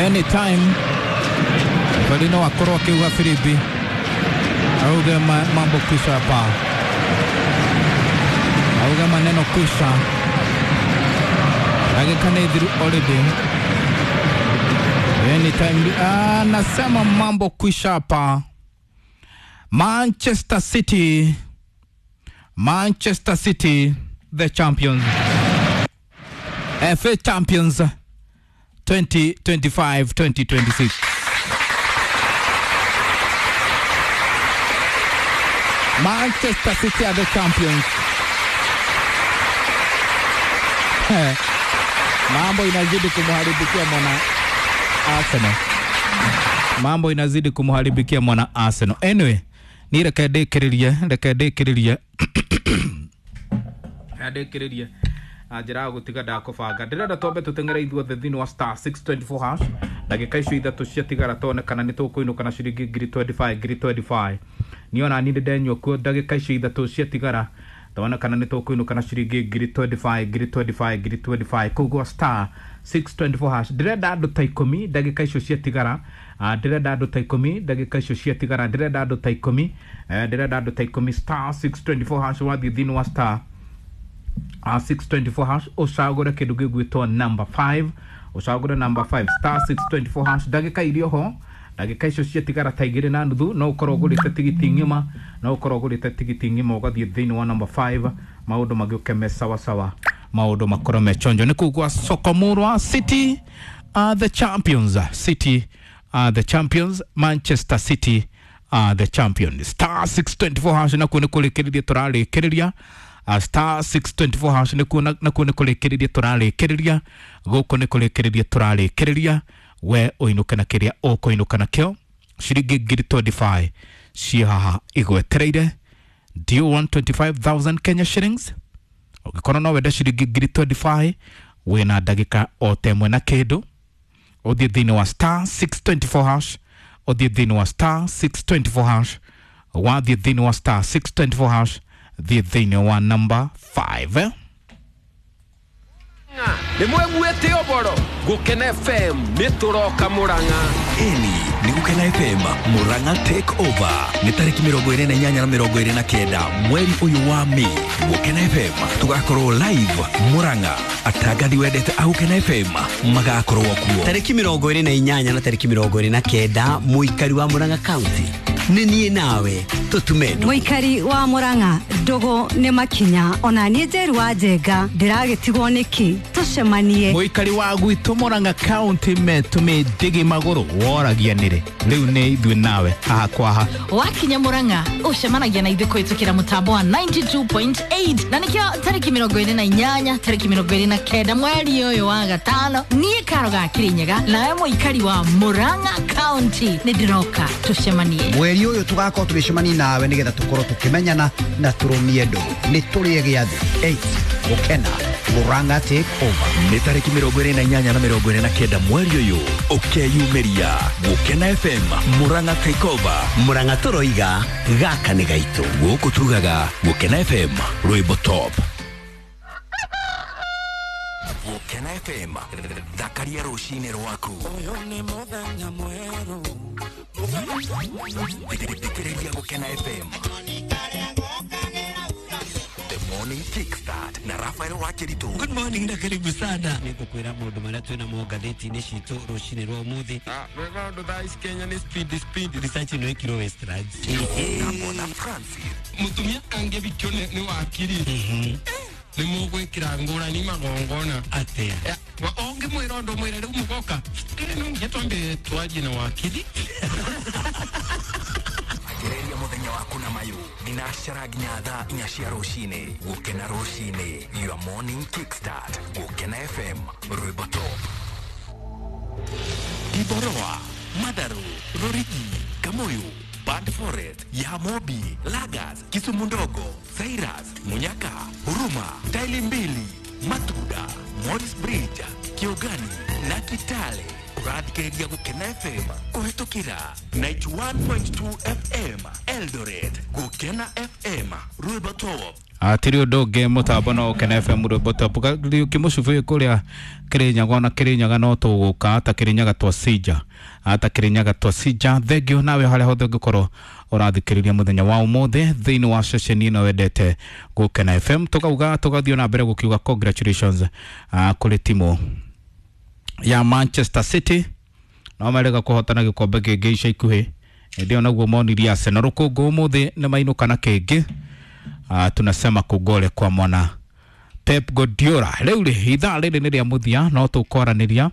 Anytime referee no akorwo akiuga firimbi auge mambo kwisha hapa, auge maneno kwisha. Dakika nĩ thiru already. Anytime anasema mambo kwisha hapa. Manchester City, Manchester City the champions, FA Champions 2025-2026. Manchester City are the champions. Mambo inazidi kumharibikia mwana Arsenal. Mambo inazidi kumharibikia mwana Arsenal. Anyway, ni reke ndĩkĩrĩrie, reke ndĩkĩrĩrie. Ndĩkĩrĩrie. Na njĩra ya gũtiga ndakũbanga. Ndĩrenda twambe tũteng'ere ithuothe thĩinĩ wa star 624 hash. Ndagĩka icio ithatũ ciatigara tuone kana nĩ tũkũinũka na ciringi ngiri 25, ngiri 25. Niĩ ona niĩ nĩndenyua kuo ndagĩka icio ithatũ ciatigara tuone kana nĩ tũkũinũka na ciringi ngiri 25, ngiri 25, ngiri 25. Koguo star 624 hash. Ndĩrenda andũ ta ikũmi ndagĩka icio ciatigara. Ndĩrenda andũ ta ikũmi ndagĩka icio ciatigara. Ndĩrenda andũ ta ikũmi. Ndĩrenda andũ ta ikũmi star 624 hash. Wathiĩ thĩinĩ wa star 624 hash ũcagũre kĩndũ gĩgwĩtwo number 5, ũcagũre number 5 star 624 hash. Ndagĩka irio ho, ndagĩka icio ciatigara ta igĩrĩ na nuthu, no ũkorwo ũgũrĩte tigiti ng'ima, no ũkorwo ũgũrĩte tigiti ng'ima ũgathiĩ thĩinĩ wa number 5, maũndũ magĩũke me sawa sawa, maũndũ makorwo me chonjo. Nĩ kũu gwa Sokomurwa. City are the champions, City are the champions, Manchester City are the champions. Star 624 hash nakuo nĩ kũrĩkĩrĩria tũrarĩkĩrĩria. Star 624 hash nakuo nĩ kũrĩkĩrĩria tũrarĩkĩrĩria, gũkũ nĩ kũrĩkĩrĩria tũrarĩkĩrĩria. We ũinũke na kĩrĩa ũkũinũka nakĩo, ciringi ngiri 25 ciĩ haha igwetereire. Do you want 25,000 Kenya shillings? Ũngĩkorwo no wende ciringi ngiri 25, wĩna ndagĩka o ta ĩmwe na kĩndũ, ũthiĩ thĩinĩ wa star 624 hash, ũthiĩ thĩinĩ wa star 624 hash, wathiĩ thĩinĩ wa star 624 hash, thiĩ thĩinĩ wa number 5. Nĩ mweguĩte ũboro Gũkena FM nĩ tũroka Mũrang'a. Ĩni nĩ Gũkena FM Murang'a Take Over nĩ tarĩki 28 na 29 mweri ũyũ wa Mĩ. Gũkena FM tũgakorwo live Murang'a, atangathi wendete a Gũkena FM magakorwo kuo. Tarĩki 28 na tarĩki 29, mũikari wa Murang'a County nĩ niĩ nawe tũtume ndũgũ. Mũikari wa Murang'a, ndũgũ nĩ makinya, ona niĩ Njeru wa Njenga ndĩragĩtigwo nĩkĩ, tũcemanie. Mũikari wa gwitũ Murang'a County metũmĩ ndĩgĩ magũrũ woragia nĩrĩ, rĩu nĩ ithuĩ nawe haha kwa haha. Wakinya Murang'a ũcemanagia na ithuĩ kũhĩtũkĩra mũtambo wa 92.8, na nĩkĩo tarĩki 28 tarĩki 29 mweri ũyũ wa gatano, niĩ Karo ga Kĩrĩnyaga nawe mũikari wa Murang'a County nĩ ndĩroka tũcemanie. Mweri ũyũ tũgakorwo tũgĩcemania nawe nĩgetha tũkorwo tũkĩmenyana na tũrũmie ndũgũ. Nĩ tũrĩe gĩathĩ 8 Gũkena Murang'a Take Over nĩ tarĩki 28 na 29 mweri ũyũ, ũkeyumĩria Gũkena FM Murang'a Take Over. Murang'a tũroiga gaka nĩ gaitũ. Gũkũ tugaga Gũkena FM rwĩmbo top. Gũkena FM thakaria rũcinĩ rwaku. Ũyũ nĩ mũthenya mwerũ, thikĩrĩria Gũkena FM The Morning Kickstart na Rafael Wakiritu. Good morning na karibu sana. Nĩngũkwĩra maũndũ marĩa twĩ namo ngathĩti-inĩ citũ rũcinĩ rwa ũmũthĩ. Wega ũndũ thaa ici Kenya nĩ speed speed. Research ĩno ĩkirwo Westlands. Kamona Francis. Mũtumia angĩbikio nĩ wakiri nĩ mũgwĩkĩra ngũrani magongona. Atĩa? Ũngĩmwĩra ũndũ mwĩre rĩu mũgoka, no nginya twambe twarie na wakiri. Anjĩrĩria mũthenya waku na mayũ thinacara nginya thaa inya cia rũcinĩ. Gũkena rũcinĩ, your morning kickstart. Gũkena FM rwĩmbo top. Kiboroa, Madaru, Rorigi, Kamuyu, Bad Forest, Yamobi, Lagas, Kisumu Ndogo, Cyrus, Munyaka, Huruma, Taili Mbili, Matuda, Morris Bridge, Kiogani na Kitale. Ũrathikĩrĩria Gũkena FM kũhĩtũkĩra 91.2 FM Eldoret. Gũkena FM rwĩmbo top. Atiri undu ungi mutambo no Ukena FM rwimbo top kimucubi kuria Kirinyaga ona Kirinyaga no tuguka ta Kirinyaga twacinja ata Kirinyaga twacinja. Thengio nawe haria hothe ungikorwo urathikiriria muthenya wa umuthi thiini wa ceceni ino wendete Gukena FM. Tukauga tugathio na mbere gukiuga congratulations kuri timu ya Manchester City no marega kuhotana gikombe kingi ica ikuhi indi ĩyo naguo monirie Arsenal rũkũngũ ũmũthĩ nĩ mainũka na kĩngĩ. Tunasema kugore kwa mwana Pep Guardiola. Rĩu rĩ ithaa rĩrĩ nĩ rĩa mũthia no tũkwaranĩria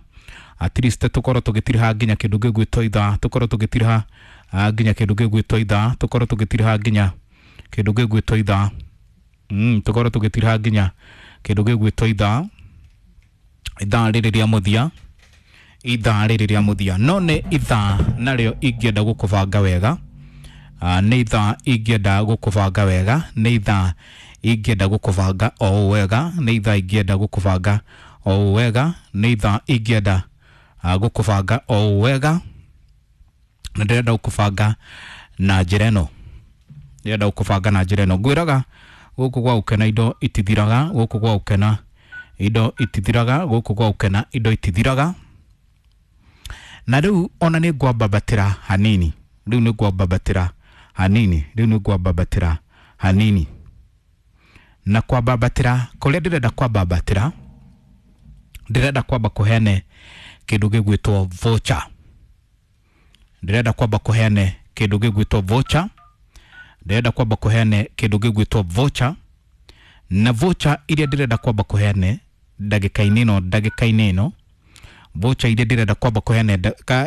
at least tũkorwo tũgĩtiriha nginya kĩndũ gĩgwĩtwo ithaa tũkorwo tũgĩtiriha nginya kĩndũ gĩgwĩtwo ithaa tũkorwo tũgĩtiriha nginya kĩndũ gĩgwĩtwo ithaa tũkorwo tũgĩtiriha nginya kĩndũ gĩgwĩtwo ithaa ithaa rĩrĩ rĩa mũthia ithaa rĩrĩ rĩa mũthia no nĩ ithaa narĩo ingĩenda gũkũbanga wega. Nĩ ithaa ingĩenda gũkũbanga wega nĩ ithaa ingĩenda gũkũbanga o ũũ wega nĩ ithaa ingĩenda gũkũbanga o ũũ wega nĩ ithaa ingĩenda gũkũbanga o ũũ wega na ndĩrenda gũkũbanga na njĩra ĩno ndĩrenda gũkũbanga na njĩra ĩno ngwĩraga gũkũ gwa Gũkena indo itithiraga gũkũ gwa Gũkena indo itithiraga gũkũ gwa Gũkena indo itithiraga na rĩu ona nĩ ngwambabatĩra hanini rĩu nĩ ngwambabatĩra hanini rĩu nĩ ngwambabatĩra hanini na kwambabatĩra kũrĩa ndĩrenda kwambabatĩra ndĩrenda kwamba kũheane kĩndũ gĩgwĩtwo voucher ndĩrenda kwamba kũheane kĩndũ gĩgwĩtwo voucher ndĩrenda kwamba kũheane kĩndũ gĩgwĩtwo voucher na voucher iria ndĩrenda kwamba kũheane ndagĩka-inĩ ĩno ndagĩka-inĩ ĩno voucher iria ndĩrenda kwamba kũheane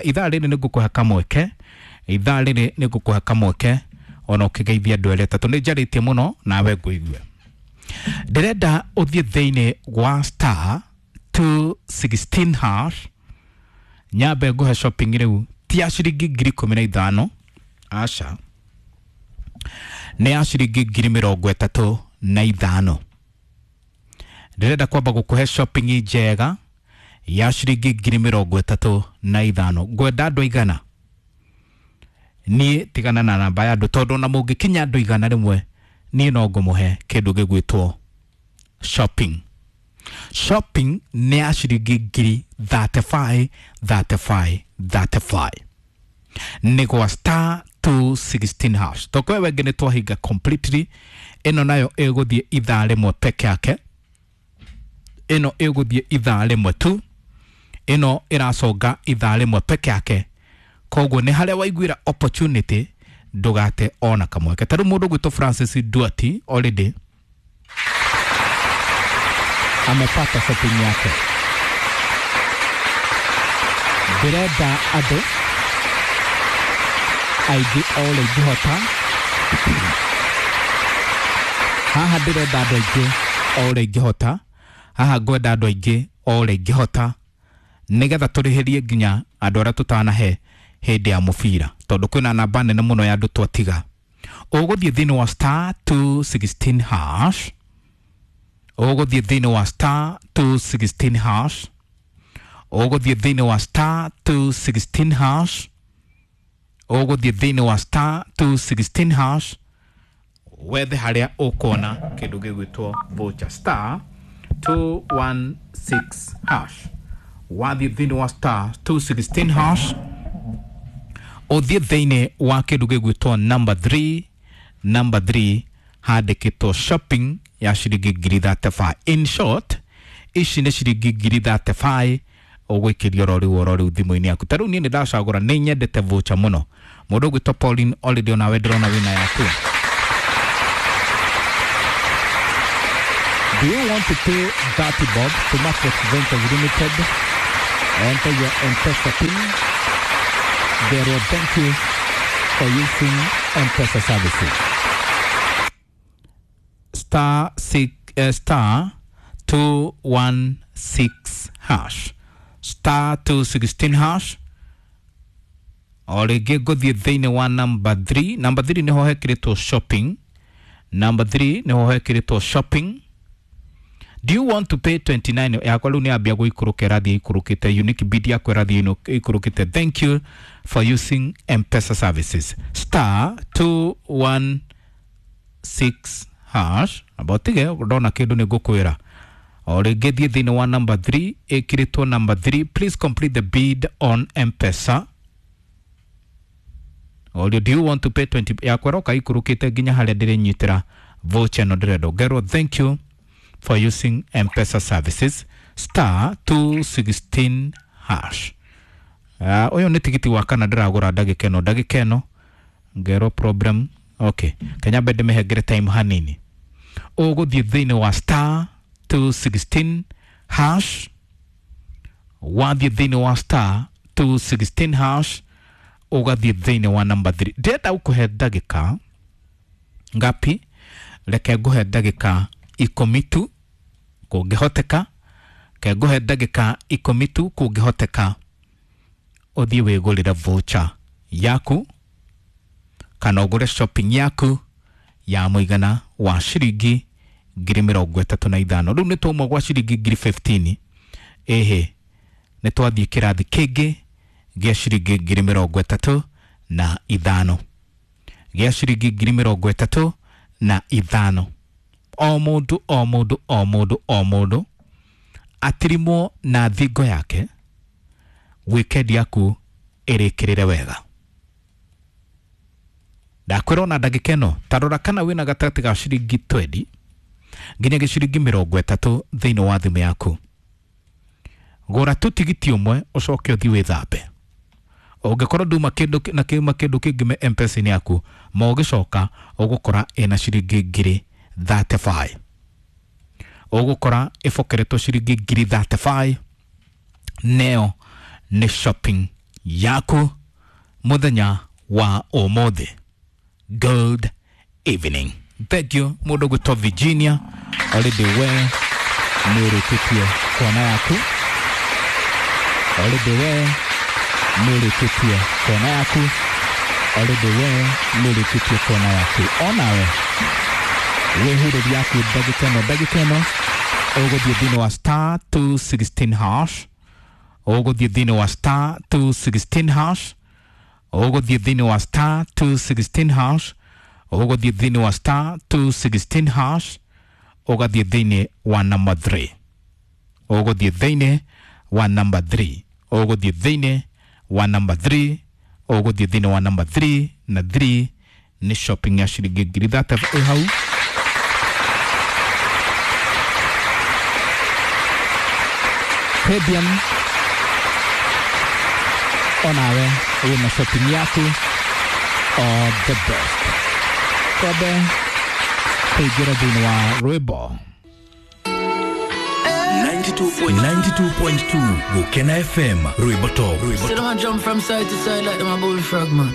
ithaa rĩrĩ nĩ ngũkũhe kamweke ithaa rĩrĩ nĩ ngũkũhe kamweke ona ũkĩgeithia andũ erĩ atatũ nĩ njarĩtie mũno nawe ngũigue ndĩrenda ũthiĩ thĩinĩ wa star 216 hash nyambe ngũhe shopping rĩu ti ya ciringi 15,000 aca nĩ ya ciringi 35,000 ndĩrenda kwamba gũkũhe shopping njega ya ciringi 35,000 ngwenda andũ aigana niĩ tigana na namba ya andũ tondũ ona mũngĩkinya andũ 100 niĩ no ngũmũhe kĩndũ gĩgwĩtwo shopping shopping nĩ ya ciringi 35,000 35 35 nĩ gwa star 216 hash tokwe wengĩ nĩ twahinga completely ĩno nayo ĩgũthiĩ ithaa rĩmwe peke yake ĩno ĩgũthiĩ ithaa rĩmwe tu ĩno ĩraconga ithaa rĩmwe peke yake koguo nĩ harĩa waiguĩra opportunity ndũgate ona kamweke ta rĩu mũndũ ũgwĩtwo Francis Duati already amepata shopping yake ndĩrenda andũ aingĩ o ũrĩa ingĩhota haha ndĩrenda andũ aingĩ o ũrĩa ingĩhota haha ngwenda andũ aingĩ o ũrĩa ingĩhota nĩgetha tũrĩhĩrie nginya andũ arĩa tũtanahe hĩndĩ ya mũbira tondũ kwĩna namba nene mũno ya andũ twatiga ũgũthiĩ thĩinĩ wa star 216 hash ũgũthiĩ thĩinĩ wa star 216 hash ũgũthiĩ thĩinĩ wa star 216 hash ũgũthiĩ thĩinĩ wa star 216 hash wethe harĩa ũkuona kĩndũ gĩgwĩtwo voucher star 216 hash wathiĩ thĩinĩ wa star 216 hash ũthiĩ thĩinĩ wa kĩndũ gĩgwĩtwo number 3 number 3 handĩkĩtwo shopping ya ciringi 35,000 in short ici nĩ ciringi 35,000 ũgũikĩrio oro rĩu thimũ-inĩ yaku ta rĩu niĩ nĩ ndacagũra nĩ nyendete voucher mũno mũndũ ũgwĩtwo Pauline already onawe ndĩrona wĩna yaku. Do you want to pay 30 bob to Matrix Ventures Limited? Enter your M-Pesa PIN. They will thank you for using M-Pesa services. Star 6 star 216 hash star 216 hash o rĩngĩ ngũthiĩ thĩinĩ wa number 3 number 3 nĩho hekĩrĩtwo shopping number 3 nĩho hekĩrĩtwo shopping. Do you want to pay 29 yakwa rĩu nĩ yambia gũikũrũka ĩrathiĩ ĩikũrũkĩte unique bid yakwa ĩrathiĩ ĩikũrũkĩte thank you for using M-Pesa services star 216 hash abotige ndona kindu ni ngukwira o rĩngĩ thiĩ thĩinĩ wa number 3 ĩkĩrĩtwo number 3, please complete the bid on M-Pesa. Or do you want to pay 20 yakwa roka ikurukite nginya harĩa ndĩrĩnyitĩra voucher ĩno ndĩrenda ngerwo thank you for using M-Pesa services star 216 hash. Ũyũ nĩ tigiti wa kana ndĩragũra ndagĩka ĩno, ndagĩka ĩno ngerwo problem. Okay, kenya mbe ndĩmĩhengere time hanini. Ũgũthiĩ thĩinĩ wa star 216 hash, wathiĩ thĩinĩ wa star 216 hash ũgathiĩ thĩinĩ wa number 3. Ndĩrenda gũkũhe ndagĩka ngapi? Reke ngũhe ndagĩka 10 tu kũngĩhoteka, ke ngũhe ndagĩka 10 tu kũngĩhoteka, ũthiĩ wĩgũrĩre voucher yaku kana ũgũre shopping yaku ya mũigana wa ciringi 35,000. Rĩu nĩ twauma gwa ciringi 15,000, ĩhĩ nĩ twathiĩ kĩrathi kĩngĩ gĩa ciringi 35,000, gĩa ciringi 35,000. O mũndũ o mũndũ o mũndũ o mũndũ atirimwo na thingo yake, weekend yaku ĩrĩkĩrĩre wega. Ndakwĩra ona ndagĩka ĩno ta rora kana wĩna gatagatĩ ga ciringi 20 nginya gĩciringi 30 thĩinĩ wa thimũ yaku. Gũra tu tigiti ũmwe ũcoke ũthiĩ wĩthambe. Ũngĩkorwo nduma kĩndũ na kĩuma kĩndũ kĩngĩ me M-Pesa-inĩ yaku, ma ũgĩcoka ũgũkora ĩna ciringi 35,000, ũgũkora ĩbokeretwo ciringi 35,000. Neo nĩ shopping yaku mũthenya wa ũmũthĩ. Good evening. Thank you mũndũ gwĩtwo Virginia, already we nĩ ũrĩkĩtie kuona yaku, already we nĩ ũrĩkĩtie kuona yaku, already we nĩ ũrĩkĩtie kuona yaku. Onawe wĩhurĩri yaku ndagĩka ĩno, ndagĩka ĩno ũgũthiĩ thĩinĩ wa star 216 hash, ũgũthiĩ thĩinĩ wa star 216 hash, ũgũthiĩ thĩinĩ wa star 216 hash, ũgũthiĩ thĩinĩ wa star 216 hash, ũgathiĩ thĩinĩ wa number 3, ũgũthiĩ thĩinĩ wa number 3, ũgũthiĩ thĩinĩ wa number 3, ũgũthiĩ thĩinĩ wa number 3 na 3 nĩ shopping ya ciringi 30,000 ĩ hau. Fabian onawe wĩna shopping yaku, all the best. Twambe kũingĩra thĩinĩ wa rwĩmbo. 92.2 Gukena FM, rwĩmbo top. Still don't jump from side to side like them a bullfrog, man.